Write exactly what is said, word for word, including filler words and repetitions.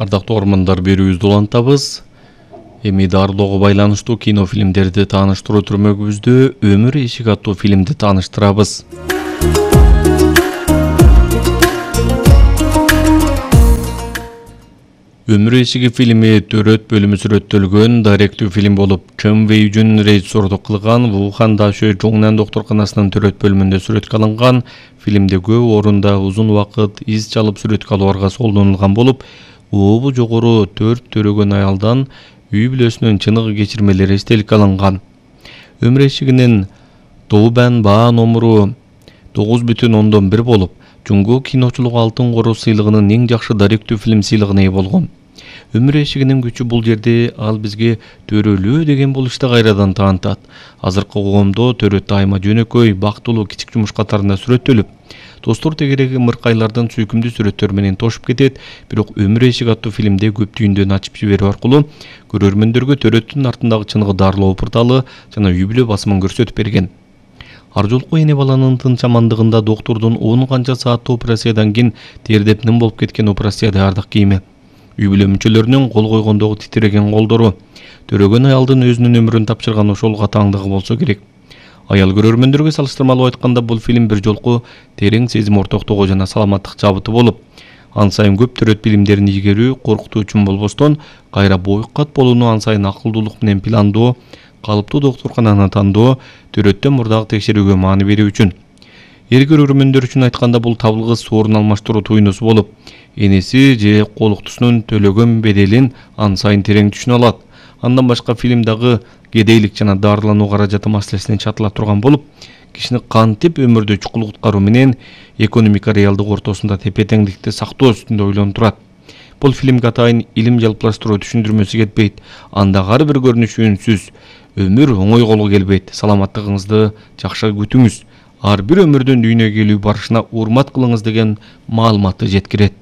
Ардактуу окурмандар, берүүбүздү улантабыз. Эми дарылоого байланыштуу кинофильмдерди тааныштыруу түрмөгүбүздө Өмүр эшиги аттуу фильмди тааныштырабыз. Өмүр эшиги фильми төрөт бөлүмү сүрөттөлгөн даректүү фильм болуп, Чен Вэй Жун режиссердук кылган. Вухан Дашө Жоңнан доктурканасынын төрөт бөлүмүндө сүрөткө алынган. Фильмде көп орунда узун убакыт из чалып сүрөткө алууга колдонулган болуп, обу жогору төрт төрөгөн аялдан үй бүлөсүнүн чыныгы кечирмелери эстеликке алынган. Өмүр эшигинин Добан баа номуру тогуз бүтүн ондон бир болуп, Жуңго киночулук алтын кору сыйлыгынын эң жакшы даректүү фильм сыйлыгына ээ болгон. Өмүр эшигинин күчү бул жерде ал бизге төрөлөө деген болушта кайрадан таанытат. Азыркы коомдо төрөт дайыма жөнөкөй, бактылуу кичик жумуш катарында сүрөттөлүп, достор тегереги мыркайлардын сүйкүмдүү сүрөттөрү менен тошуп кетет. Бирок Өмүр эшиги аттуу фильмде көп түйүндөн ачып жиберүү аркылуу көрөрмөндөргө төрөттүн артындагы чыныгы дарылоо пырталы жана үй бүлө басымын көрсөтүп берген. Ар жолку эне баланын тынчамандыгында доктурдун он канча сааттуу операциядан кийин тердеп ним болуп кеткен операция даярдык кийими, үй бүлө мүчөлөрүнүн кол койгондогу титиреген колдору, төрөгөн аялдын өзүнүн өмүрүн тапшырган ошол катаңдыгы болсо керек. Аял көрөрмөндөргө салыштырмалуу айтканда, бул фильм бир жолку терең сезим ортоктугу жана саламаттык жабыты болуп, ан сайын көп төрөт билимдерин ийгерүү коркутуучу болбостон, кайра бойкат болууну ан сайын акылдуулук менен пландоо, калыптуу доктуркананы тандоо, төрөттөн мурдагы текшерүүгө маани берүү үчүн. Эр көрөрмөндөр үчүн айтканда, бул табылгыс сорун алмаштыруу туйнусу болуп, энеси же колуктусунун төлөгөн беделин ан сайын терең түшүнө алат. Андан башка фильм дагы кедейлик жана дарылануу каражаты маселесине чатыла турган болуп, кишини кантип өмүрдө чукул куткаруу менен экономика реалдык ортосунда тепе-теңдикти сактоо үстүндө ойлонтурат. Бул фильмге атайын илим жалплаштыруу түшүндүрмөсү кетпейт. Анда ар бир көрүнүшү үнсүз. Өмүр оңой колго келбейт. Саламаттыгыңызды жакшы күтүңүз. Ар бир өмүрдүн дүйнөгө келүү барышына урмат кылыңыз деген маалыматты жеткирет.